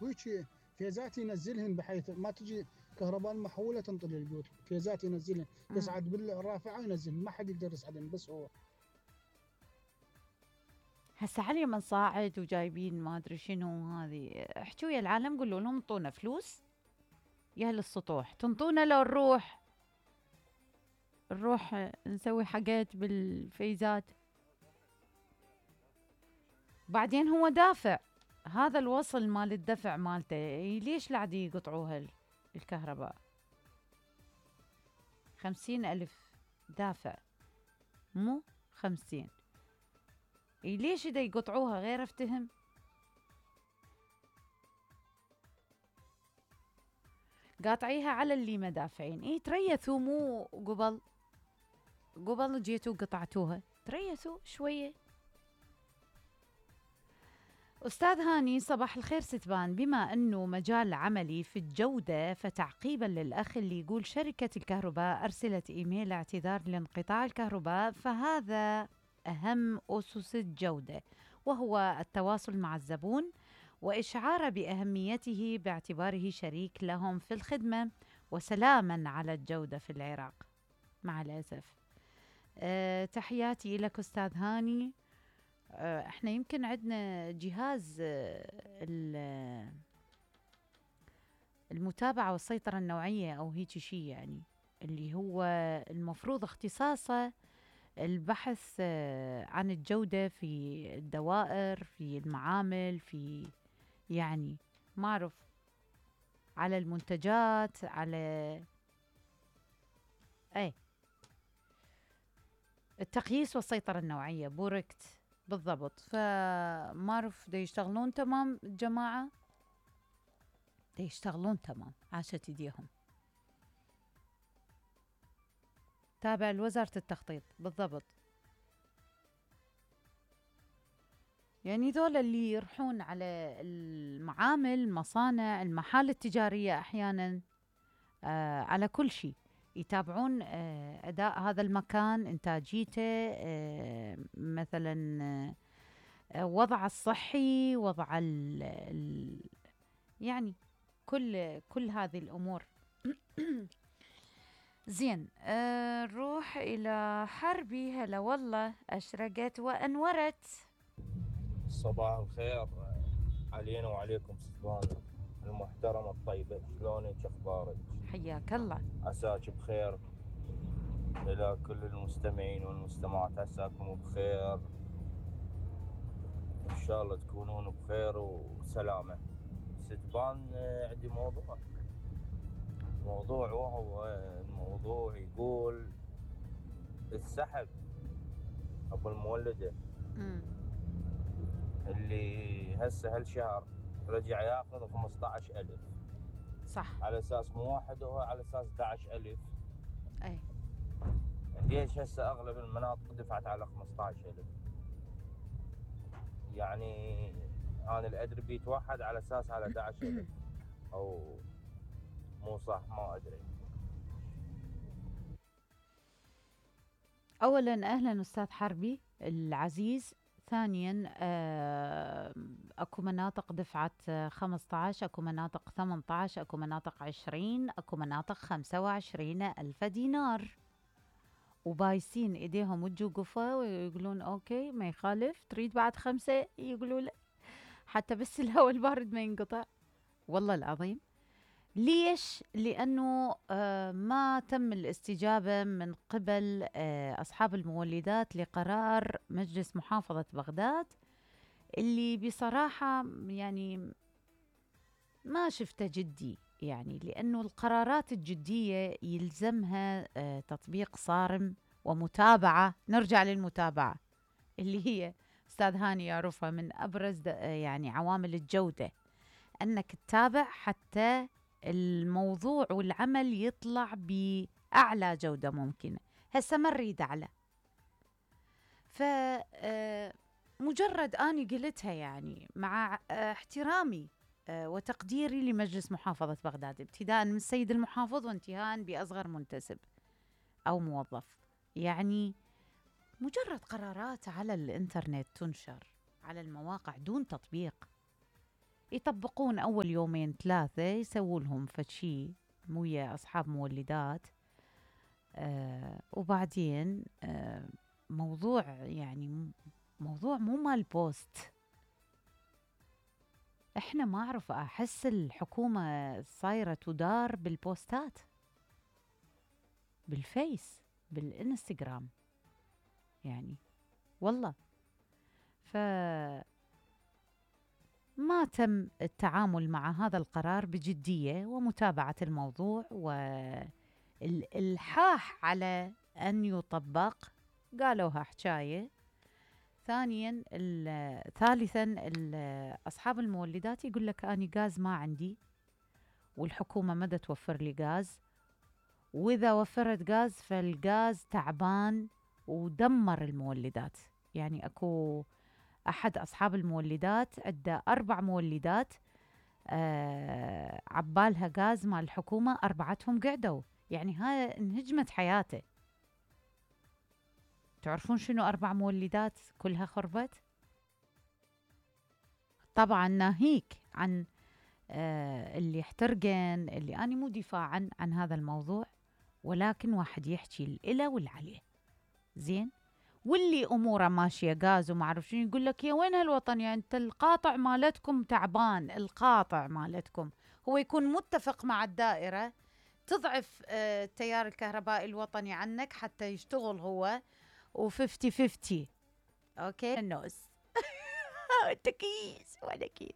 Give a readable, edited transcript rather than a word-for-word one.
وهيك فيزات ينزلهن بحيث ما تجي كهرباء محولة تنطر للبيوت، فيزات ينزلهن يصعد بالرافعة وينزلهن، ما حد يقدر يصعدهن بس هو. هسه علي من صاعد وجايبين ما ادري شنو هذه، احكوا ويا العالم قولوا لهم انطونا فلوس يا اهل السطوح، تنطونا لو نروح نسوي حاجات بالفيزات. بعدين هو دافع، هذا الوصل مال الدفع مالته ليش لعد يقطعوها الكهرباء؟ 50,000 دافع مو 50، ليش دا يقطعوها غير افتهم؟ قاطعيها على اللي ما دافعين. تريثوا، مو قبل جيتوا قطعتوها، تريثوا شوية. أستاذ هاني صباح الخير ستبان، بما أنه مجال عملي في الجودة، فتعقيبا للأخ اللي يقول شركة الكهرباء أرسلت إيميل اعتذار لانقطاع الكهرباء، فهذا أهم أسس الجودة، وهو التواصل مع الزبون وإشعاره بأهميته باعتباره شريك لهم في الخدمة، وسلاما على الجودة في العراق. مع الأسف. تحياتي لك أستاذ هاني. احنا يمكن عندنا جهاز المتابعة والسيطرة النوعية أو هيك شيء، يعني اللي هو المفروض اختصاصه البحث عن الجودة في الدوائر، في المعامل، في يعني ما أعرف، على المنتجات، على التقييس والسيطرة النوعية، بوركت بالضبط. فما أعرف دا يشتغلون تمام الجماعة، دا يشتغلون تمام، عاشت ايديهم. تابع لوزارة التخطيط بالضبط. يعني ذولا اللي يروحون على المعامل، المصانع، المحال التجارية أحيانا، على كل شيء يتابعون أداء هذا المكان، إنتاجيته، مثلا وضع الصحي، وضع يعني كل هذه الأمور. زين. نروح إلى حربي. هلا والله، أشرقت وأنورت. صباح الخير علينا وعليكم ستبان المحترمة الطيبة، شلونك اخبارك؟ حياك الله، عساك بخير. الى كل المستمعين والمستمعات عساكم بخير، ان شاء الله تكونون بخير وسلامة. ستبان عندي موضوع وهو الموضوع يقول السحب ابو المولدة اللي هسه هالشهر رجع ياخذ 15,000. صح، على اساس مو واحد، هو على اساس 11,000. اي ليش هسه اغلب المناطق دفعت على 15,000؟ يعني انا الادري بيتوحد على اساس على 11,000 او مو صح، ما ادري. اولا اهلا استاذ حربي العزيز. ثانيا اكو مناطق دفعت 15، اكو مناطق 18، اكو مناطق 20، اكو مناطق 25 ألف دينار، وبايسين ايديهم وجوقفة ويقولون اوكي ما يخالف، تريد بعد 5 يقولوا لا حتى بس الهواء البارد ما ينقطع. والله العظيم. ليش؟ لأنه ما تم الاستجابة من قبل أصحاب المولدات لقرار مجلس محافظة بغداد، اللي بصراحة يعني ما شفته جدي، يعني لأنه القرارات الجدية يلزمها تطبيق صارم ومتابعة. نرجع للمتابعة اللي هي أستاذ هاني يعرفها من أبرز يعني عوامل الجودة، أنك تتابع حتى الموضوع والعمل يطلع بأعلى جودة ممكنة. هسه ما نريد أعلى، فمجرد أني قلتها يعني مع احترامي وتقديري لمجلس محافظة بغداد، ابتداء من السيد المحافظ وانتهاء بأصغر منتسب أو موظف. يعني مجرد قرارات على الإنترنت تنشر على المواقع دون تطبيق، يطبقون أول يومين 3 يسوولهم فشي ويا أصحاب مولدات. وبعدين موضوع يعني موضوع مو مال بوست. احنا ما أعرف، أحس الحكومة صايرة تدار بالبوستات، بالفيس، بالإنستغرام يعني، والله. ما تم التعامل مع هذا القرار بجدية ومتابعة الموضوع والإلحاح على أن يطبق. قالوها حكاية. ثالثاً أصحاب المولدات يقول لك أنا غاز ما عندي، والحكومة ما توفر لي غاز، وإذا وفرت غاز فالغاز تعبان ودمر المولدات. يعني أكو أحد أصحاب المولدات عنده 4 مولدات، عبالها غاز مال الحكومة 4 قعدوا، يعني هاي انهجمت حياته. تعرفون شنو 4 مولدات كلها خربت؟ طبعا ناهيك عن اللي احترقن، اللي أنا مو دفاعا عن هذا الموضوع، ولكن واحد يحكي الإله والعليه زين، واللي أموره ماشية غاز وما أعرف شنو يقول لك يا وين هالوطن، يعني أنت القاطع مالتكم تعبان، القاطع مالتكم هو يكون متفق مع الدائرة تضعف التيار الكهربائي الوطني عنك حتى يشتغل هو و50-50. أوكي النوس. أنت كيس وأنا كيس.